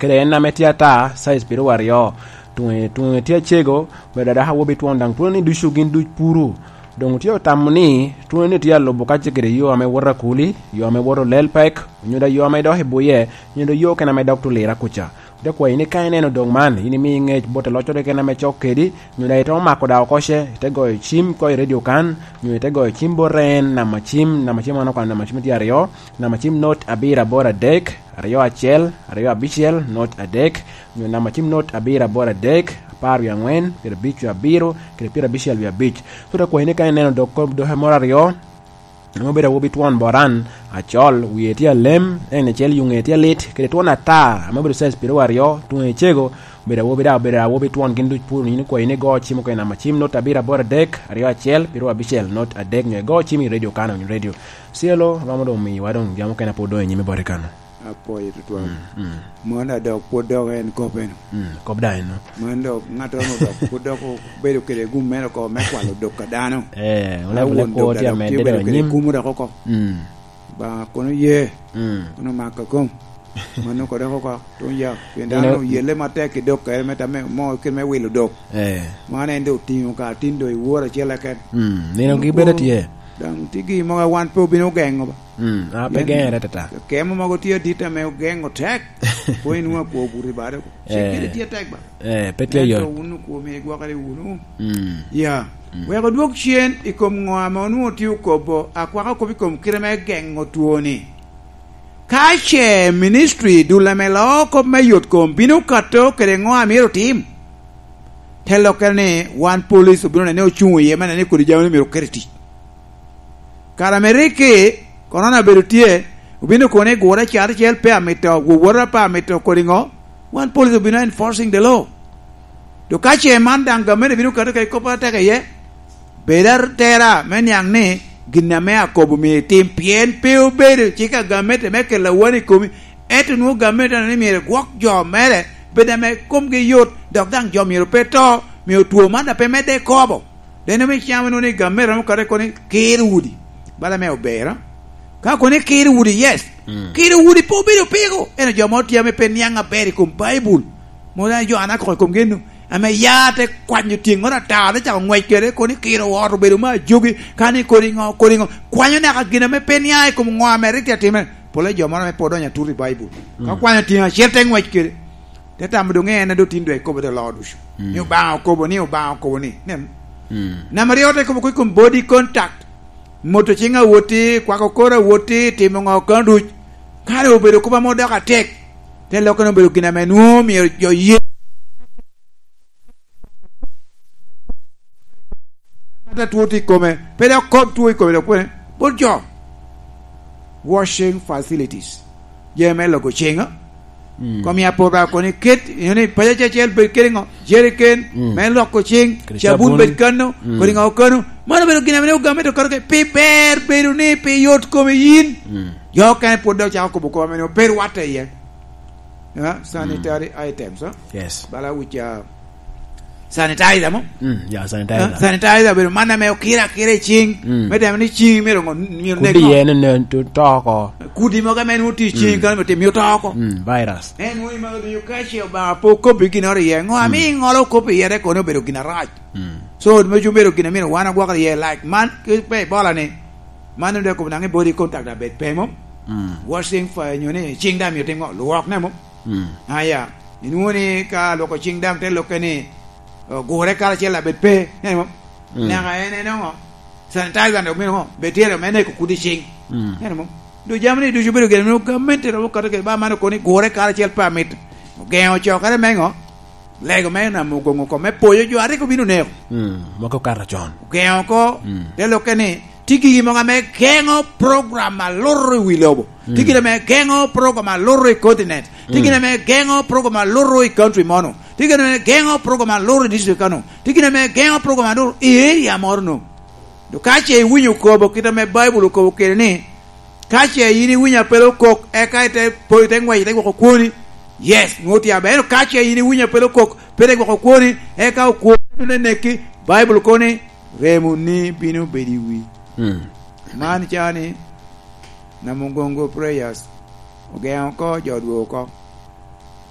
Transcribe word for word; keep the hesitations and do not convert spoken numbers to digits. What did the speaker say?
kede en ame tye ata, size piero aryo. Tuŋe, tuŋe tye acego, obedo adaka awobi twon daŋ twononi ducu gin duc puru. Doŋ otye otamo ni twononi tye alubo ka ce kede yo ame woto akuli, yo ame woto lel pek, onyo da yo ame dok i buye, onyo da yo kene ame dok tulira kuca. Te kwayi ni ka ineno dog man, in imi ŋec bot aloccoro kene ame cok kedi, nyo daŋ ite omako daŋ oko ce, ite goyo cim ko i redio kan, nyo ite goyo cim bot en, namba cim, namba cim wan okwano namba cim tye aryo, namba cim not abiro aboro adek, aryo acel, aryo abicel, not adek, nyo namba cim not abiro aboro adek, apar wie angwen, pyerabic wie abiro, kede pyerabicel wie abic. So, te kwayi ni ka ineno dog kop doke moro aryo, ame obedo awobi twon boran, acol, wie tye alem, en acel yuŋe tye alit, kede twon ata, ame obedo size piero aryo, tuŋe cego, obedo awobi daŋ, obedo awobi twon gin duc puro, nino kwayi ni go cim okene namba cim not abiro aboro adek, aryo acel, piero abicel, not adek, nyo igo cim i redio kano, nyo redio. Cielo, romo doŋ miwa doŋ jam okene pwod doŋ i nyime bote kano. Apwoyo tutwal. Mm, mm. Mon adok pwod dok en kop eno. Mm, kop daŋ eno. Mon dok ŋattoro dok pwod dok obedo kede gum meno oko me kwalo dok a dano. Eh, wun a abula won kwo dok tye adok amedde tye obedo dok kede anyim. Kumo dok oko. Mm. Ba kono ye. Mm. Kono maka kom. Mano ko dok oko tun ya. Pien dano oyelle matek i dok kere me tame mo kit me wilo dok. Eh. Man en dok otingo ka tin dok i woro acel eken. Mm, nino gi bedo tye. Daŋ tye gin mogo a wan pe obino ogeŋo ba. Mm, a pe geŋere atata. Kemo mogo tye adit ame ogeŋo tek. Pwony nwoŋo akwo obuto i bade oko. Cik kede tye tek ba. Eh, pe tye yot. Ento wun okwo myero igwokere wunu. Mm. Ya. Mm. Wek odwog cen i kom ŋo ame onwoŋo tye okobo, akwako kop i kom kite me geŋo twoni. Ka ce ministry dul ame loo kop me yot kom bino kato kede ŋo a myero otim, te lokkere ni wan police obino nene ocuŋ iye me nene kodi jami myero oket i tic. Kare ame rik ki korona obedo tye, obino kono ni gure caracel pe amito, wowota pe amito kodi ŋo, wan police obino enforcing the law. To ka ce man daŋ gamente bino kato kede kop atek iye, bed atera me niaŋ ni gin ame akobo myero itim, pien pe obedo cik a gamente me kelo awano i komi, ento nwoŋo gamente ni myero gwok jo mere, bed ame komgi yot, dok daŋ jo myero pe to, myero two man daŋ pe medde i kobo. Deno me cam inwoŋo ni gamente romo kare kono ni kiro udi, bala me obera. Ka kono ni kiro udi, yes. Mm. Kiro udi pe obedo peko. Ento jo mo tye ame pe niaŋ aber i kom Baibul. Mo daŋ jo an akoko i kom geno. Ame ya te kwanyo tyeŋŋoro ata, te cako ŋwec kede, kono ni kiro ot obedo me ajogi, ka ni kodi ŋo, kodi ŋo. Kwanyo naka gin ame pe niaŋ i kom ŋo ame rik tye atimere. Pole jo moro ame pe odonyo atut i Baibul. Ka Mm. kwanyo tyeŋ acel te ŋwec kede. Te tamo doŋ en a doŋ tin doŋ ekobo te loo ducu. Mm. Ni Obaŋa okobo ni, Obaŋa okobo ni. Nen. Mm. Namba aryo te kobo kwe kom body contact. Moto ciŋ awoti, kwako kor awoti, timo ŋo kano duc. Kare obedo kop ame odoko atek. Te lokkene obedo gin ame nwoŋo myero jo ye. Ŋat a two tye i kome, pe dok kop two i kome dok kwene, bot jo. Washing facilities. Je me loko ciŋ, a? Mm. Kom ya pora koni ket, you know, paco acel bed kede ŋo? Jeriken, Mm. me loko ciŋ, kede cabun cabun. Bed kano, Mm. kodi ŋo kano. Mano obedo gin ame ogame to kato ke, pi ber bedo ni, pi yot kome yin. Mm. Jo okene pwod dok cako kobo kop ame nwoŋo pe rwatte iye. Ya, sanitary Mm. items, a? Yes. Bala wic, a, sanitizer mo? Mm, ya, sanitizer. Ah, sanitizer obedo man ame okiro akira i ciŋ. Mm. Me temo ni ciŋ myero ngo-, myero Kudi nek ngo? Yen ne to, to oko. Kudi mogo ame nwoŋo tye i ciŋ Mm. kano myero tim, myero to oko. Mm, virus. En nwoŋo i mogo ducu ka ce Obaŋa pe okobbi ginnoro iye. Ngo ami Mm. ŋolo okobbi iye, te kono obedo gin arac. Mm. So, me cuŋ obedo gin amyero wan agwokere iye, like, man, ki pe ibola ni, man onde kobo naŋ i body contact abed pe mo. Mm. Washing fa, nyo ni ciŋ daŋ myero tim ngo? Lwok ne mo. Mm. Aya, inwoŋo ni ka lwoko ciŋ daŋ te lokke ni, o, gure karacel abed pe, neno mo? Mm. Naka en, en oŋo? Sanitizer dok mito ŋo? Bed tye me neko kudi ciŋ. Mm. Neno mo? Duk jami ni ducu bedo gire, nwoŋo gamente romo kato kede ba man okoni gure karacel pe amit. Ogeŋo cokere me ŋo? Lego me namo ogoŋo kom me poyo jo a rik obino neko. Mm, mogo okato con. Ogeŋo oko, Mm. te lokke ni, tye gigi mogo ame geŋo program a luto i wi lobo. Mm. Tye gin ame geŋo program a luto i continent. Tye Mm. gin ame geŋo program a luto i country mono. Tye gin ame geŋo program a luto i district kano. Tye gin ame geŋo program a luto i area moro no. Dok ka ce iwinyo kobo kit ame Baibul okobo kede ni, ka ce yin iwinyo apel okok, eka ite po, ite ŋwec, ite gwoko kwoni, yes, nwoŋo tye aber. Ento ka ce yin iwinyo apel okok, pe ite gwoko kwoni, eka okwoni te neki, Baibul kono ni, "Remoni bino bedo i wi." Mm. Man ca ni, Namugongo prayers, ogeŋo oko, jo odwogo oko.